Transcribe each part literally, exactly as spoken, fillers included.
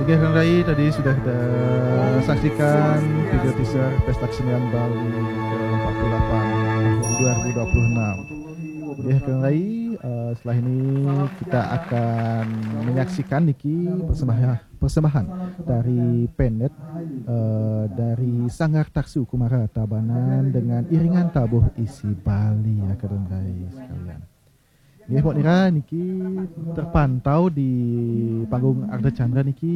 Oke, Kang Rai, tadi sudah kita saksikan video teaser Pesta Kesenian Bali ke empat puluh delapan tahun dua ribu dua puluh enam. Oke, Kang Rai, eh, setelah ini kita akan menyaksikan niki persembahan, persembahan dari Penet, eh, dari Sanggar Taksu Kumara Tabanan dengan iringan tabuh isi Bali, ya, Kang Rai sekalian. Nggih, Mbok Nira, niki terpantau di panggung Ardha Candra niki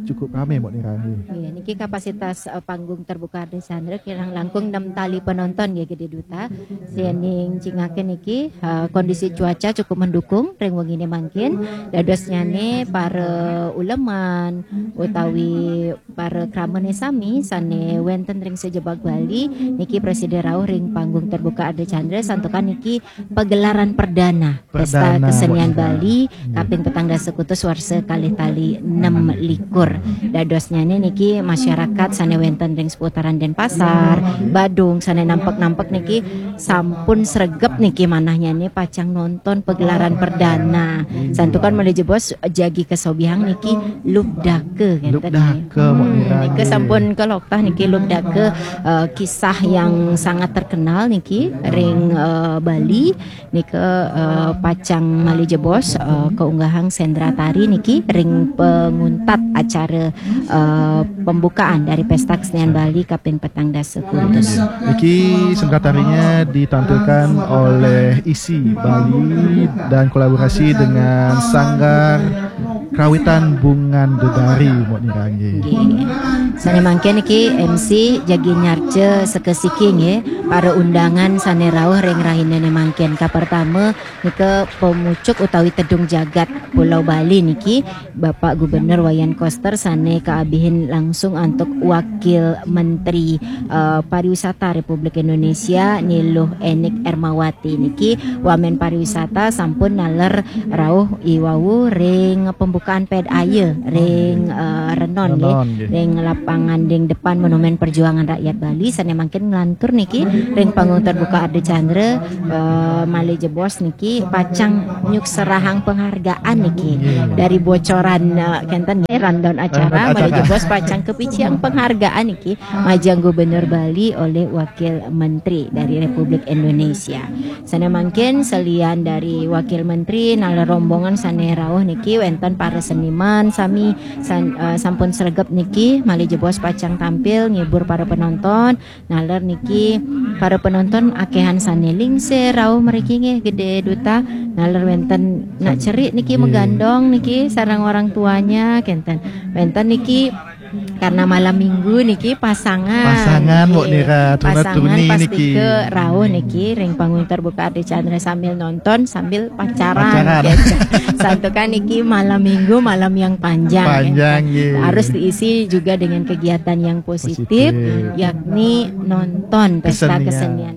cukup rame, Mbok Nira, nggih. Nggih, niki kapasitas eh, panggung terbuka Ardha Candra kirang langkung enam tali penonton nggih, Gede Duta. Sing cingaken niki eh, kondisi cuaca cukup mendukung ring wengine mangkin. Dadosnyane para uleman utawi para kramane sami sane wenten ring sajebag Bali niki prasida rauh ring panggung terbuka Ardha Candra, santukan niki pagelaran perdana Pesta Perdana, Kesenian Mbok Nira. Bali kaping petang dasa kutus warsa kalih tali enam likur. Dadosnyane niki masyarakat sane wenten ring seputaran Denpasar, Badung, sane nampek-nampek niki sampun sregep niki manahnyane pacang nonton pagelaran perdana. Santukan malih jebos jagi kasobihang niki Lubdaka, ngeten nggih. Lubdaka, Mbok Nira, Nika nggih. Sampun kaloktah niki Lubdaka, eh, kisah yang sangat terkenal niki ring eh, Bali. Nika eh, pacang malih jebos eh, kaunggahang Sendra Tari niki ring penguntat acara eh, pembukaan dari Pesta Kesenian Bali kaping petang dasa kutus. Niki Sendra Tarinya ditampilkan oleh isi Bali dan kolaborasi dengan Sanggar Krawitan Bungan Dedari, Mbok Nira, nggih. Nggih. Sane mangkin niki M C jagi nyarca sekasiki nggih, para undangan sane rauh ring rahinane mangkin. Kapertama nika pemucuk utawi tedung jagat Pulau Bali niki Bapak Gubernur Wayan Koster sane kaabihin langsung antuk Wakil Menteri eh, Pariwisata Republik Indonesia Ni Luh Enik Ermawati niki. Wamen pariwisata sampun naler rauh iwau ring pembukaan ped aya ring eh, Renon nggih. Renon, nggih. Ring lapangan ding depan Monumen Perjuangan Rakyat Bali sane mangkin nglantur niki ring panggung terbuka Ardha Candra eh, malih jebos niki pacang nyukserahang penghargaan niki dari bocoran eh, kenten nggih, rundown acara. Rundown Malih acara. Jebos pacang kapicihang penghargaan niki majeng Gubernur Bali oleh Wakil Menteri dari Republik Indonesia. Sane mangkin selian dari Wakil Menteri naler rombongan sane rauh niki wenten para seniman sami san- eh, sampun sregep niki malih jebos pacang tampil ngibur para penonton. Naler niki para penonton akehan sane lingsir rauh mriki nggih, Gede Duta. Naler wenten nak cerik niki Nggih. Megandong niki sareng orang tuanya kenten. Wenten niki karena malam minggu niki pasangan. Pasangan, Mbok Nggih. Nira, tuna Pasangan tuni pasti niki. Ke rauh niki ring panggung terbuka Ardha Candra sambil nonton sambil pacaran. Pacaran. Gitu. Santukan niki malam minggu, malam yang panjang. Panjang, Gitu. nggih. Harus diisi juga dengan kegiatan yang positif, Positif. yakni nonton pesta Kesenian. Kesenian